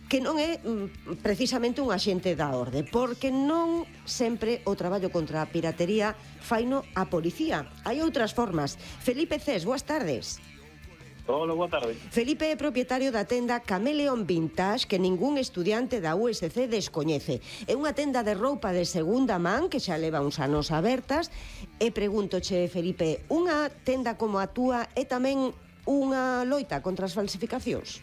que non é precisamente un axente da orde, porque non sempre o traballo contra a piratería faino a policía. Hai outras formas. Felipe Cés, boas tardes. Hola, boa tarde. Felipe é propietario da tenda Chameleon Vintage, que ningún estudiante da USC descoñece. É unha tenda de roupa de segunda man que xa leva uns anos abertas. E pregúntoche, Felipe, unha tenda como a túa é tamén unha loita contra as falsificacións?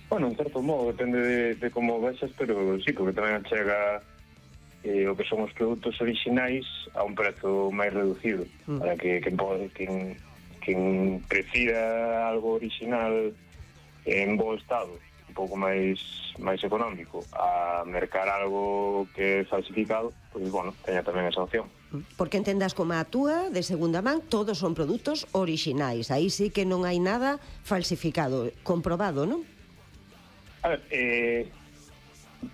Bueno, en certo modo, depende de como vexas, pero sí, porque tamén chega o que son os produtos orixinais a un prezo máis reducido, para que quen prefira algo original en bo estado, un pouco máis económico, a mercar algo que é falsificado, pois, bueno, teña tamén esa opción. Porque en tendas como a túa, de segunda man, todos son produtos orixinais. Aí sí que non hai nada falsificado, comprobado, non? A ver,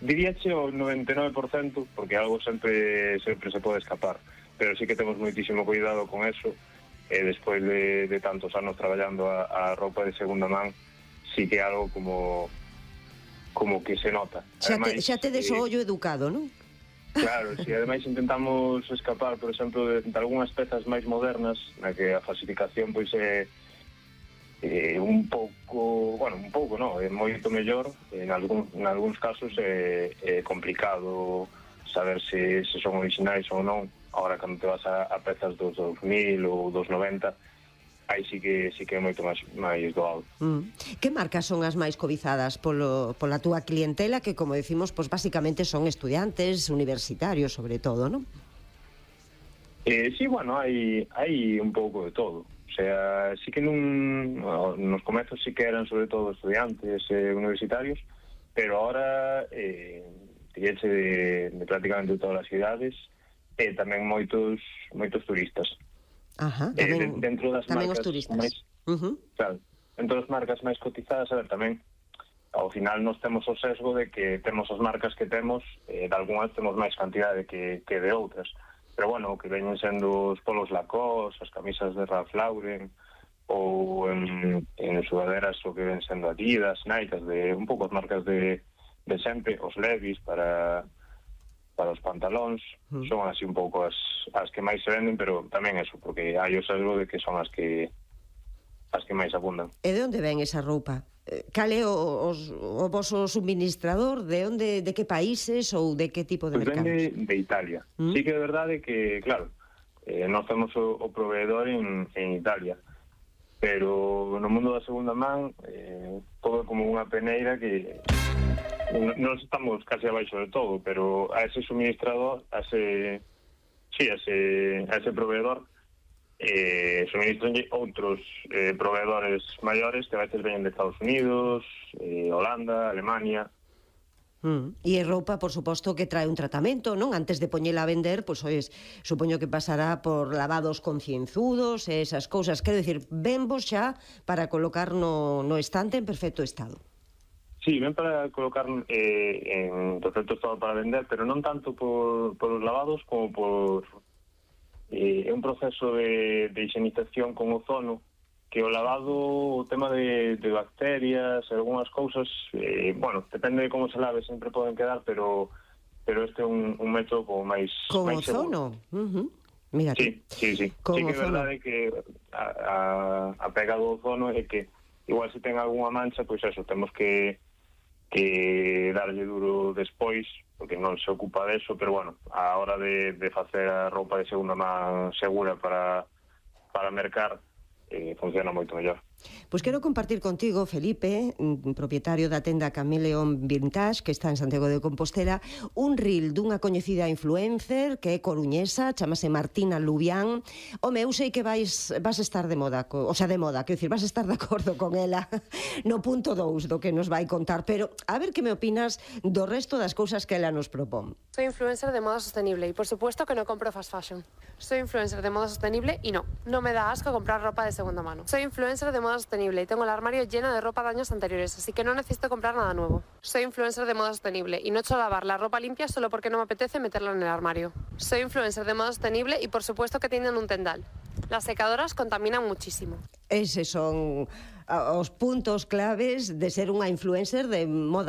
diríache o 99%, porque algo sempre se pode escapar, pero sí que temos moitísimo cuidado con eso. Despois de tantos anos traballando a roupa de segunda man, sí que é algo como que se nota. Xa tedes o ollo educado, non? Claro, si ademais intentamos escapar, por exemplo, de algunhas pezas máis modernas, na que a falsificación pois é un pouco non, é moito mellor. En algúns casos é complicado saber se son originais ou non. Ahora, cando te vas a pezas dos 2000 ou dos 90, aí sí que é moito máis doado. Que marcas son as máis cobizadas pola túa clientela, que, como decimos, pues, basicamente son estudiantes, universitarios, sobre todo, non? Sí, bueno, hai un pouco de todo. O sea, sí que nos comezos sí que eran sobre todo estudiantes universitarios, pero ahora de prácticamente todas as cidades, e tamén moitos turistas. Ajá, tamén marcas os turistas. Claro, entre as marcas máis cotizadas, a ver, tamén ao final nos temos o sesgo de que temos as marcas que temos, de algunhas temos máis cantidade que de outras, pero bueno, que veñen sendo os polos Lacoste, as camisas de Ralph Lauren, ou en sudaderas o que ven sendo Adidas, Nike, de un pouco as marcas de sempre, os Levi's para os pantalóns, son así un pouco as que máis se venden, pero tamén eso, porque hai o sesgo de que son as que máis abundan. E de onde ven esa roupa? Cal é o voso suministrador? De que países ou de que tipo de mercados? Vende de Italia. Sí que é verdade que, claro, nós temos o proveedor en Italia, pero no mundo da segunda man todo é como unha peneira que non estamos casi abaixo de todo, pero a ese suministrador, a ese proveedor, suministran outros proveedores maiores que a veces veñen de Estados Unidos, Holanda, Alemania. E a roupa, por suposto, que trae un tratamento, non? Antes de poñela a vender, pois, supoño que pasará por lavados concienzudos e esas cousas. Quero dicir, venvos xa para colocar no estante en perfecto estado. Sí, ven para colocar en perfecto estado para vender, pero non tanto por os lavados como por un proceso de higienización con ozono, que o lavado, o tema de bacterias, algunhas cousas, bueno, depende de como se lave, sempre poden quedar, pero este é un método como máis con ozono? Mira, sí. Sí que é verdade que a pega do ozono é que igual se ten algunha mancha, pois eso, temos que darlle duro despois, porque non se ocupa deso, pero bueno, a hora de facer a roupa de segunda man segura para mercar, funciona moito mellor. Pois quero compartir contigo, Felipe, propietario da tenda Chameleon Vintage, que está en Santiago de Compostela, un reel dunha coñecida influencer que é coruñesa, chamase Martina Lubián. Home, eu sei que vas estar de moda, quero dicir, vas estar de acordo con ela no punto 2 do que nos vai contar, pero a ver que me opinas do resto das cousas que ela nos propón. Soy influencer de moda sostenible y por supuesto que no compro fast fashion. Soy influencer de moda sostenible y no me da asco comprar ropa de segunda mano. Soy influencer de moda sostenible y tengo el armario lleno de ropa de años anteriores, así que no necesito comprar nada nuevo. Soy influencer de moda sostenible y no echo a lavar la ropa limpia solo porque no me apetece meterla en el armario. Soy influencer de moda sostenible y por supuesto que tienen un tendal. Las secadoras contaminan muchísimo. Eses son os puntos claves de ser unha influencer de moda